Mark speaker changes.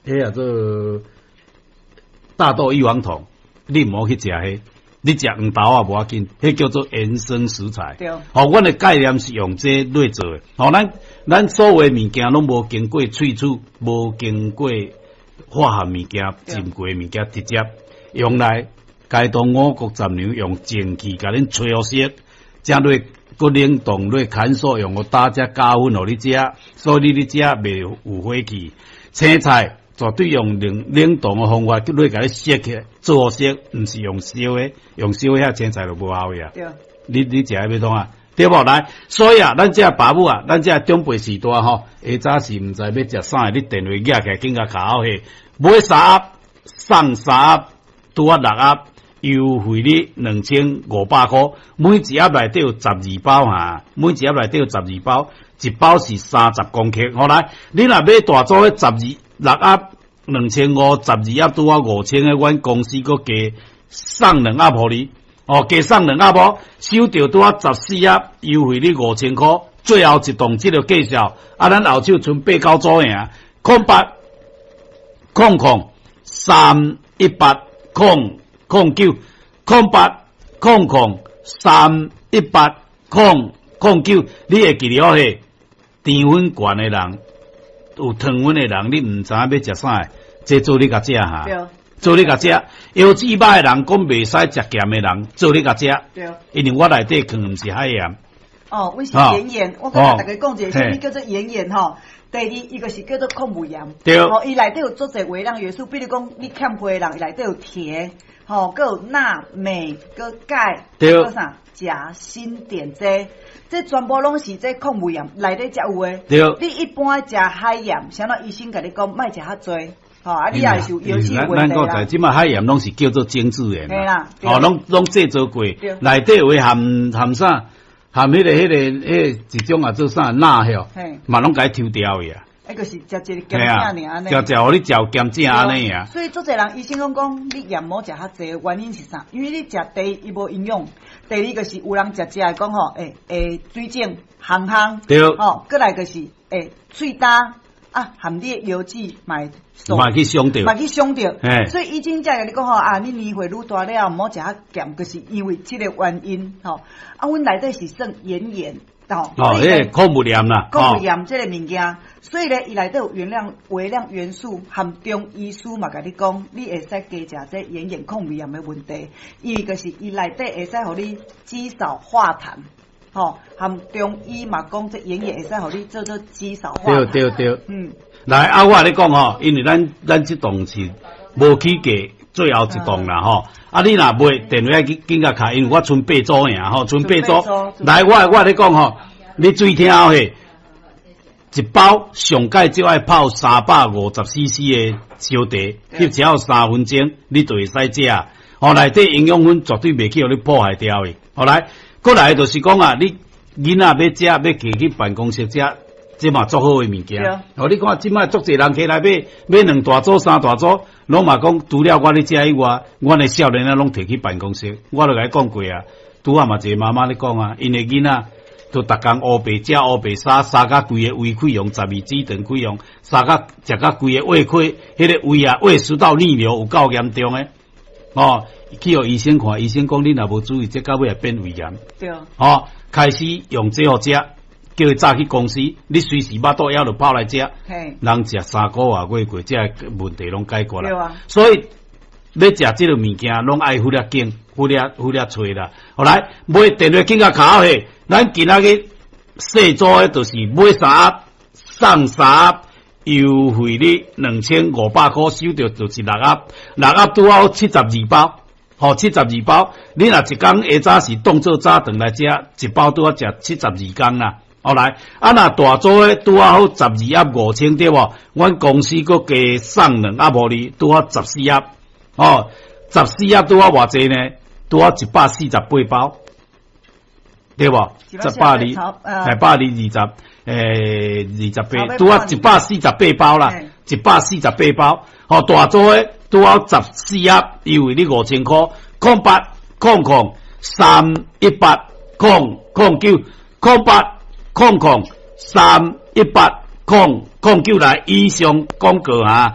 Speaker 1: 彼叫做大豆異黃酮，你毋好去食彼，你食黃豆仔無要緊，彼叫做延伸食材。吼，阮的概念是用這來做的。吼，咱所有的物件攏無經過萃取，無經過化學物件、浸過的物件，直接用來該當五穀雜糧，用蒸汽共恁吹熟，才落閣冷凍落砍索，用個打只加粉予你食，所以你咧食袂有火氣。青菜絕對用冷凍的方法，落共你雪起來做熟，毋是用燒的，用燒的遐青菜就無效呀。你食欲創啊？對無？來，所以啊，咱這爸母啊，咱這長輩時代吼，下早時毋知欲食啥，你電話舉起來，緊共敲號買三盒送三盒，拄仔六盒，優惠你2500箍，每一盒內底有十二包哈，每一盒內底有十二包，一包是30公克。好來，你若買大組的十二六盒2500，十二盒拄仔5000的，阮公司閣加送兩盒予你。哦，加送兩盒哦，收著拄仔十四盒，優惠你5000箍。最後一檔這個介紹，啊，咱後手賰八九組爾，08000318009，0800318009，你會記得哦？嘿，澱粉懸的人，有糖分的人，你毋知影欲食啥？這做你共食哈。做你共食，腰子歹的人講袂使食鹹的人，做你共食。因為我內底囥毋是海鹽。
Speaker 2: 哦，阮是岩鹽，我共大家講一下，啥物叫做岩鹽吼？第二，伊個是叫做礦物鹽。吼，伊內底有足濟微量元素，比如講你欠血的人，伊內底有鐵，吼，閣有鈉、鎂、閣鈣，閣啥鉀、鋅、碘這，這全部攏是這礦物鹽內底才有的。你一般食海鹽，啥物醫生共你講莫食遐濟。吼，啊，你也是有腰子問題啦。
Speaker 1: 咱這馬海鹽攏是叫做精製鹽
Speaker 2: 啦。
Speaker 1: 哦，攏製造過，內底有含含啥？含彼個一種啊做啥鈉吼，嘛攏共伊抽掉去啊。
Speaker 2: 彼個是食一個鹹正爾按呢。
Speaker 1: 食食予你食有鹹正按呢啊。
Speaker 2: 所以足濟人醫生攏講你鹽毋好食較濟，原因是啥？因為你食第一伊無營養，第二個是有人食食會講吼，會水腫、紅紅，吼，閣來就是會喙焦。啊，含你的腰子嘛會
Speaker 1: 嘛去傷著，
Speaker 2: 嘛去傷著。所以醫生才共你講吼，啊，你年歲愈大了，毋好食較鹹，就是因為這個原因吼。啊，阮內底是算岩鹽，吼。
Speaker 1: 哦，彼個礦物鹽啦，
Speaker 2: 礦物鹽這個物件，所以咧，伊內底有原量微量元素，含中醫師嘛共你講，你會使加食這岩鹽礦物鹽的問題，因為就是伊內底會使予你肌少化痰。吼，含中醫嘛講，這岩鹽會使予你做做肌少化痰。
Speaker 1: 對對對。來啊，我共你講吼，因為咱這檔是無起價，最後一檔啦吼。啊，你若買電話緊緊共敲，因為我賰八組爾吼，賰八組。來，我共你講吼，你注意聽好嘿。一包上蓋少愛泡350 cc 的燒茶，翕只要3分鐘，你就會使食。吼，內底營養分絕對袂去予你破壞掉的。好來。閣來就是講啊，你囡仔欲食，欲提去辦公室食，這嘛足好的物件。哦，你看這擺足濟人起來買買兩大組、三大組，攏嘛講除了我咧食以外，阮的少年仔攏提去辦公室。我就共伊講過啊，拄仔嘛一個媽媽咧講啊，𪜶的囡仔都逐工烏白食烏白沙，沙甲規个胃潰瘍，十二指腸潰瘍，沙甲食甲規个胃潰，彼個胃啊胃食道逆流有夠嚴重的。哦，去予醫生看，醫生講你若無注意，這到尾會變胃癌。哦，開始用這予食，叫伊早去公司，你隨時腹肚枵就泡來食。人食3個外月過，這個問題攏解決啦。所以欲食這個物件，攏愛付了緊，付了付了揣啦。後來買電話緊共敲去，咱今仔日細組的，就是買三盒送三盒。優惠你2500箍，收著就是六盒，六盒拄好七十二包，吼七十二包。你若一工下早時當做早頓來食，一包拄好食七十二工啦。後來啊，若大組的拄好十二盒5000對無？阮公司閣加送兩盒予你，拄好十四盒。哦，十四盒拄好偌濟呢？拄好148包，對無？一百二，百二二十。28，拄仔148包啦，一百四十八包，吼，大組的拄好十四盒，優惠你5000箍，0800318009，0800318009來以上廣告哈。